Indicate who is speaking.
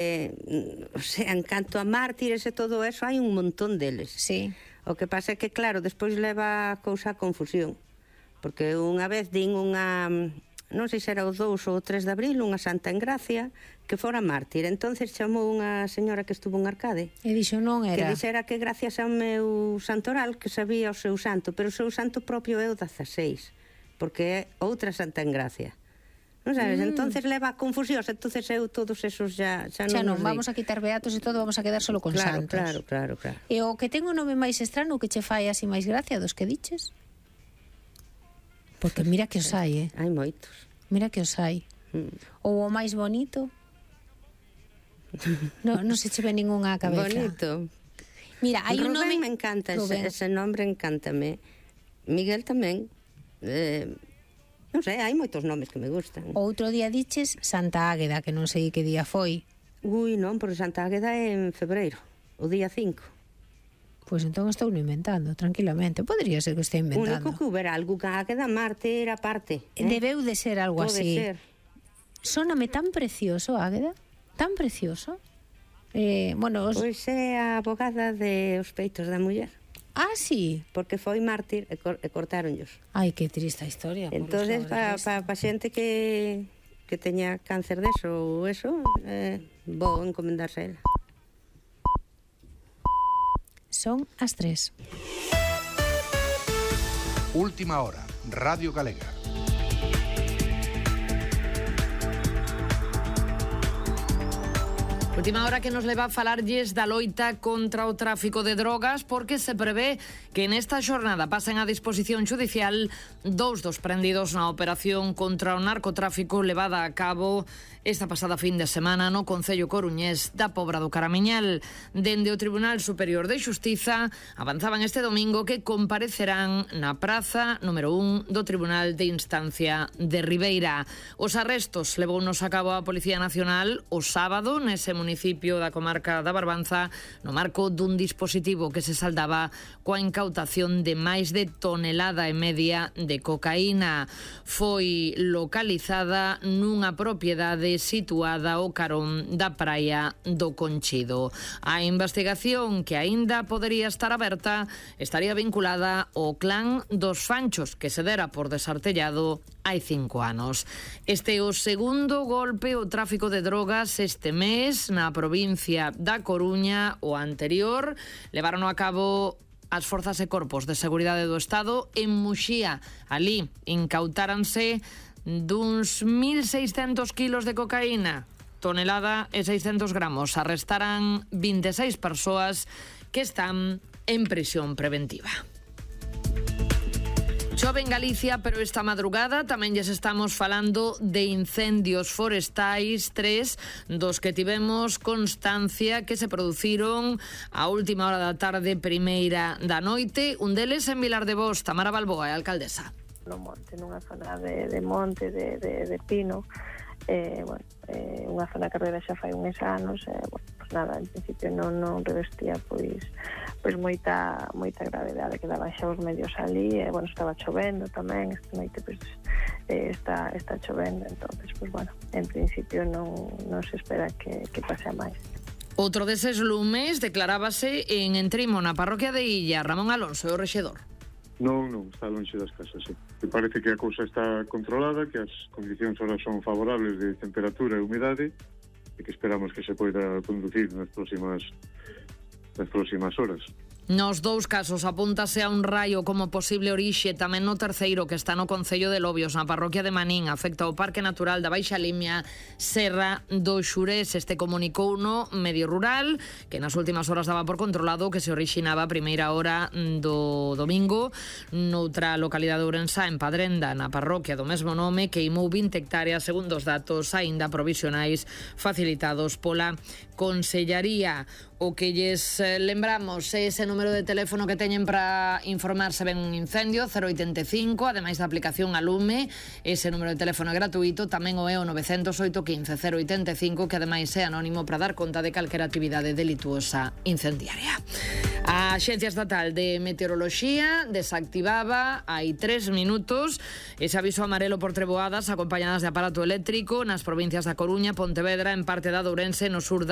Speaker 1: O sea, en canto a mártires e todo eso, hai un montón deles.
Speaker 2: Sí.
Speaker 1: O que pasa é que, claro, despois leva a cousa a confusión. Porque unha vez din unha, non sei se era o 2 ou o 3 de abril, unha santa en Gracia, que fora mártir. Entonces chamou unha señora que estuvo en Arcade.
Speaker 2: E dixo non era.
Speaker 1: Que dixera que gracias ao meu santoral que sabía o seu santo, pero o seu santo propio é o 16, porque é outra santa en Gracia. Non sabes? Entonces leva a confusión, entonces eu todos esos xa non
Speaker 2: vamos a quitar beatos e todo, vamos a quedar solo con santos.
Speaker 1: Claro.
Speaker 2: E o que ten o nome máis estrano que che fai así máis gracia dos que diches? Porque mira que os hai,
Speaker 1: Hai moitos.
Speaker 2: Mira que os hai. Ou o máis bonito? Non se che ve ningunha a cabeza.
Speaker 1: Bonito.
Speaker 2: Mira, hai un nome...
Speaker 1: Rubén me encanta, ese nombre encántame. Miguel tamén. Non sei, hai moitos nomes que me gustan.
Speaker 2: Outro día diches Santa Águeda, que non sei que día foi.
Speaker 1: Ui, non, porque Santa Águeda é en febreiro, o día 5.
Speaker 2: Pois entón estou inventando, tranquilamente. Podría ser que estea inventando.
Speaker 1: Único que hubiera algo que Águeda Marte era parte.
Speaker 2: Debeu de ser algo
Speaker 1: Pode
Speaker 2: así.
Speaker 1: ser.
Speaker 2: Sóname tan precioso, Águeda, tan precioso.
Speaker 1: Pois é a abogada de os peitos da muller.
Speaker 2: Ah, sí?
Speaker 1: Porque foi mártir e cortáronllos.
Speaker 2: Ai, que triste historia.
Speaker 1: Entonces, para xente que teña cáncer deso ou eso, vou encomendarse a ela.
Speaker 2: Son as 3.
Speaker 3: Última hora, Radio Galega.
Speaker 4: Última hora que nos leva a falarlles da loita contra o tráfico de drogas, porque se prevé que nesta xornada pasen a disposición judicial 2 dos prendidos na operación contra o narcotráfico levada a cabo esta pasada fin de semana no concello coruñés da Pobra do Caramiñal. Dende o Tribunal Superior de Xustiza avanzaban este domingo que comparecerán na praza número 1 do Tribunal de Instancia de Ribeira. Os arrestos levounos a cabo a Policía Nacional o sábado nese municipio da comarca da Barbanza no marco dun dispositivo que se saldaba coa incautación de máis de 1,5 toneladas de cocaína. Foi localizada nunha propiedade situada ao carón da praia do Conchido. A investigación, que aínda podería estar aberta, estaría vinculada ao clan dos Fanchos, que se dera por desartellado hai 5 anos. Este é o segundo golpe ao tráfico de drogas este mes na provincia da Coruña. O anterior levaron a cabo as forzas e corpos de seguridade do Estado en Muxía. Ali incautáranse duns 1.600 kilos de cocaína, tonelada e 600 gramos. Arrestaran 26 persoas que están en prisión preventiva. Chove en Galicia, pero esta madrugada tamén lles estamos falando de incendios forestais, 3 dos que tivemos constancia que se produciron a última hora da tarde, primeira da noite. Un deles en Vilar de Bos. Tamara Balboa, a alcaldesa.
Speaker 5: No monte, nunha zona de monte, de pino, unha zona que revela xa fai uns anos, pues nada, en principio non revestía pois moita gravedade, que daban xa os medios ali, estaba chovendo tamén, esta noite pois está chovendo, entonces en principio non se espera que pase a máis.
Speaker 4: Outro deses lumes declarábase en Entrimo, na parroquia de Illa. Ramón Alonso, o rexedor.
Speaker 6: Non, está lonxe das casas, sí. Me parece que a cousa está controlada, que as condicións ahora son favorables de temperatura e humidade e que esperamos que se poida conducir nas próximas horas.
Speaker 4: Nos dous casos apúntase a un raio como posible orixe, tamén no terceiro, que está no concello de Lobios, na parroquia de Manín, afecta ao Parque Natural da Baixa Limia, Serra do Xurés. Este comunicou no medio rural, que nas últimas horas daba por controlado que se orixinaba a primeira hora do domingo noutra localidade ourensá, en Padrenda, na parroquia do mesmo nome, queimou 20 hectáreas, segundo os datos aínda provisionais facilitados pola Consellaría. O que lles lembramos é ese número de teléfono que teñen para informarse ben un incendio, 085, ademais da aplicación a Lume. Ese número de teléfono é gratuito, tamén o é o 908 15 085, que ademais é anónimo para dar conta de calquera actividade delituosa incendiaria. A Axencia Estatal de Meteoroloxía desactivaba hai 3 minutos ese aviso amarelo por treboadas acompañadas de aparato eléctrico nas provincias da Coruña, Pontevedra, en parte da de Ourense, no sur da